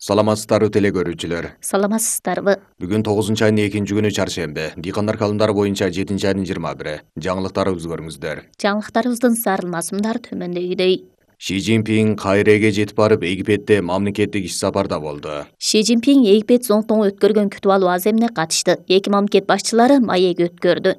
Саламатсыздарбы теле көрүүчүлөр. Саламатсыздарбы. Бүгүн 9-айдын 2-күнү чаршемби. Дыйкандар календары боюнча 7-айдын 21. Жаңылыктарыбызды көрүңүздөр. Жаңылыктарыбыздын зарылмасымдары төмөндөгүдөй. Ши Цзиньпин Кайреге жетип барып, Египетте мамлекеттик иш сапарда болду. Ши Цзиньпин Египет Зоңтоңу өткөргөн күтүп алуу аземине катышты. Эки мамлекет башчылары маек өткөрдү.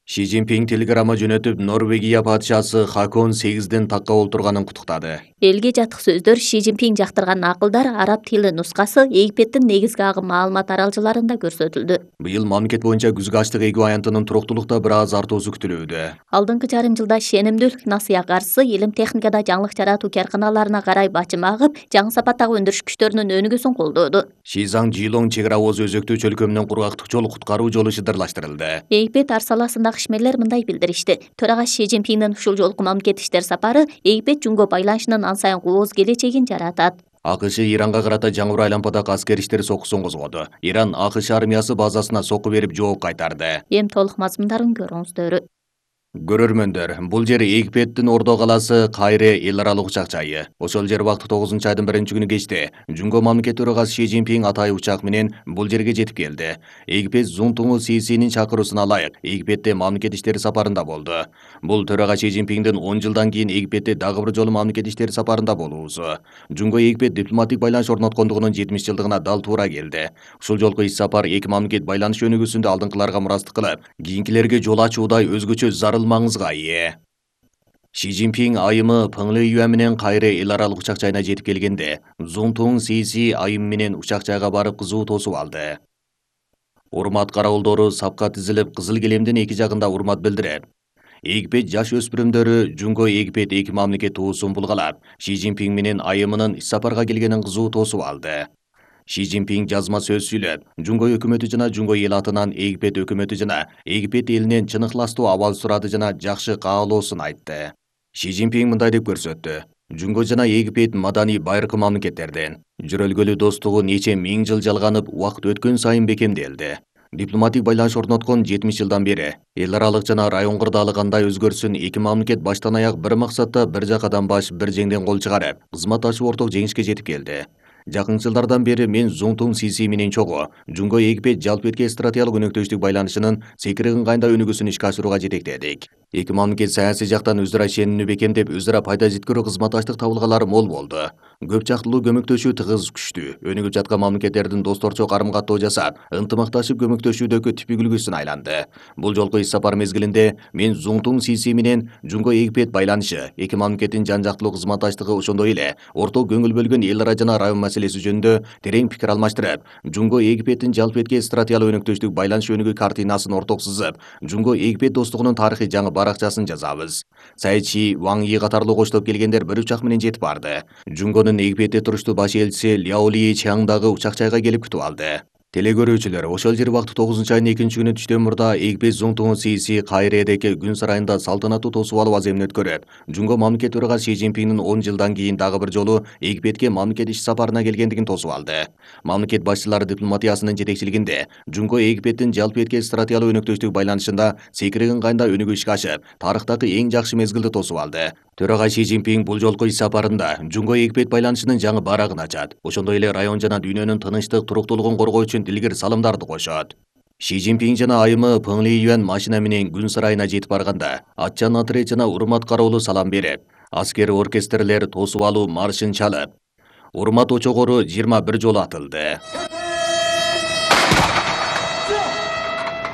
Ши Цзиньпин телеграмма жөнөтүп, Норвегия падышасы Хакон 8ден такка олтурганын куттуктады. Элге жатык сөздөр Ши Цзиньпин жактырган акылдар араб тили нускасы Египеттин негизги агым маалымат аралжаларында көрсөтүлдү. Быйыл мамлекет боюнча күзгү ачлык эквивалентинин туруктуулукта бир аз артуусу күтүлүүдө. Алдыңкы жарым жылда шенимдүүлүк насыя каржысы илим техникада жаңылык жаратуу карканаларына карай бачым агып, жаңы сапаттагы өндүрүш күчтөрүнүн өнүгүүсүн колдоду. Шизаң Жилоң чек ара озу өзөктүү чөлкөмүнөн кургактык жол куткаруу жолу шыдырлаштырылды. Египет ар саласындагы ишмерлер мындай билдиришти. Төрага Ши Цзиньпиндин ушул жолку мамлекеттик иштер сапары Египет Жунго байланышынын ан сайын кооз келечегин жаратат. АКШ Иранга карата жаңы айлампадагы аскер иштер сокусун козгоду. Иран АКШ армиясы базасына сокку берип жооп кайтарды. Эми толук мазмундарын көрүңүздөр. Көрөрмөндөр, бул жер Египеттин Ордо калаасы Кайре эл аралык учак жайы. Ошол жер убакыт 9-айдын 1-күнү кечте Жунго мамлекет төрагасы Ши Цзиньпин атайы учак менен бул жерге жетип келди. Египет Зунтуңу Сисинин чакыруусуна ылайык Египетте мамлекет иштери сапарында болду. Бул төрага Ши Цзиньпиндин 10 жылдан кийин Египетте дагы бир жолу мамлекет иштери сапарында болуусу. Жунго Египет дипломатик байланыш орноткондугунун 70 жылдыгына дал туура келди. Ушул жолку иш сапар эки мамлекет байланыш өнүгүүсүндө алдыңкыларга мурастык кылып, кийинкилерге жол ачуудай өзгөчө зарыл маңызга ээ. Ши Цзиньпин айымы Пыңлы Юан менен Кайре эл аралык учак жайына жетип келгенде, Зунтуң Сиси айым менен учак жайга барып кызуу тосуп алды. Урмат каравылдору сапка тизилип, кызыл килемдин эки жагында урмат билдирет. Египет жаш өспүрүмдөрү Жунго Египет эки мамлекет туусун булгалап, Ши Цзиньпин менен айымынын иш сапарга келгенин кызуу тосуп алды. Ши Цзиньпин жазма сөз сүйлөп, Жунго өкмөтү жана Жунго эл атынан Египет өкмөтү жана Египет элинен чын ыхластуу абал сурады жана жакшы каалоосун айтты. Ши Цзиньпин мындай деп көрсөттү. Жунго жана Египет маданий байыркы мамлекеттерден. Жөрөлгөлүү достугу нече миң жыл жалганып, убакыт өткөн сайын бекемделди. Дипломатик байланыш орноткон 70 жылдан бери эл аралык жана район кырдаалы кандай өзгөрсүн эки мамлекет баштан аяк бир максатта бир жакадан баш бир жеңден кол чыгарып, кызматташып орток жеңишке жетип келди. Жакын жылдардан бери мен Зунтуң Сиси менен чогуу Жунго Египет жалпы стратегиялык өнөктөштүк байланышынын секиригин кайда өнүгүүсүн ишке ашырууга жетектедик. Эки мамлекет саясий жактан өзара ишенимдүү бекемдеп, өзара пайда жеткирүү кызматташтык табылгалары мол болду. Көп жактылуу көмөктөшүү тыгыз күчтүү. Өнүгүп жаткан мамлекеттердин досторчо карым-каттоо жасап, ынтымакташып көмөктөшүүдөгү типик үлгүсүн айланды. Бул жолку иш сапар мезгилинде мен Зунтуң Сиси менен Жунго Египет байланышы, эки мамлекеттин жан жактылуу кызматташтыгы ошондой эле орток көңүл бөлгөн эл ара жана район маселеси жөнүндө терең пикир алмаштырып, Жунго Египеттин жалпы стратегиялык өнөктөштүк байланыш өнүгүү картинасын орток сызып, Жунго Египет достугунун тарыхый жаңы баракчасын жазабыз. Сайчи Ваң Yi катарлуу коштоп келгендер бир учак менен жетип барды. Жунгонун Египетте туруштуу баш элчиси Ляо Ли Чаңдагы учак жайга келип күтүп алды. Теле көрүүчүлөр, ошол жер убакыт 9-айдын 2-күнү түштөн мурда Египет Зунтуң Сиси Кайредеги күн сарайында салтанаттуу тосуп алуу аземин өткөрөт. Жунго мамлекет төрагасы Ши Цзиньпиндин 10 жылдан кийин дагы бир жолу Египетке мамлекет иш сапарына келгендигин тосуп алды. Мамлекет башчылары дипломатиясынын жетекчилигинде Жунго Египеттин жалпы стратегиялык өнөктөштүк байланышында секиригин кайда өнүгүү ишке ашып, тарыхтагы эң жакшы мезгилди тосуп алды. Төрага Ши Цзиньпин бул жолку иш сапарында Жунго Египет байланышынын жаңы барагын ачат. Ошондой эле район жана дүйнөнүн тынычтык, туруктуулугун коргоо үчүн илгир салымдарды кошот. Ши Цзиньпин жана айымы Пыңлы Юан машина менен күн сарайына жетип барганда, атчан отряд жана урмат кароолу салам берип, аскер оркестрлер тосуп алуу маршын чалып, урмат очогору 21 жолу атылды.